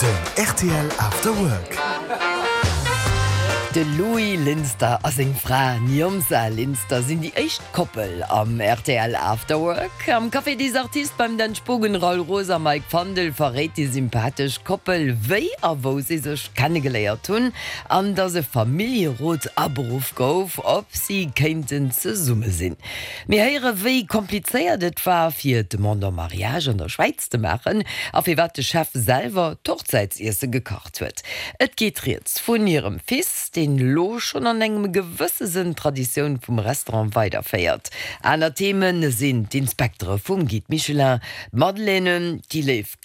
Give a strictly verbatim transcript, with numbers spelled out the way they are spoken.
Den R T L After Work. De Louis Linster a seng Fra Niomsa Linster sinn déi éischt Koppel am R T L After Work. Am Café des Artistes beim Dan Spogen, Raoul Roos a Mike Fandel verréit déi sympathesch Koppel, wéi a wou si sech kennegeléiert hunn an dass e Familljerot aberuff gouf, ob si kéinten zesumme sinn. Mir héiere wéi komplizéiert et war, fir d'Demande en mariage an der Schwäiz ze maachen a firwat de Chef selwer d'Hochzäitsiesse gekacht huet. Et geet rieds vun hirem Fils, deen lo schonn an engem gewësse Sënn d'Traditioun vum Restaurant weiderféiert. Aner Themen sinn d'Inspektere vum Guide Michelin, Madeleinen, déi léif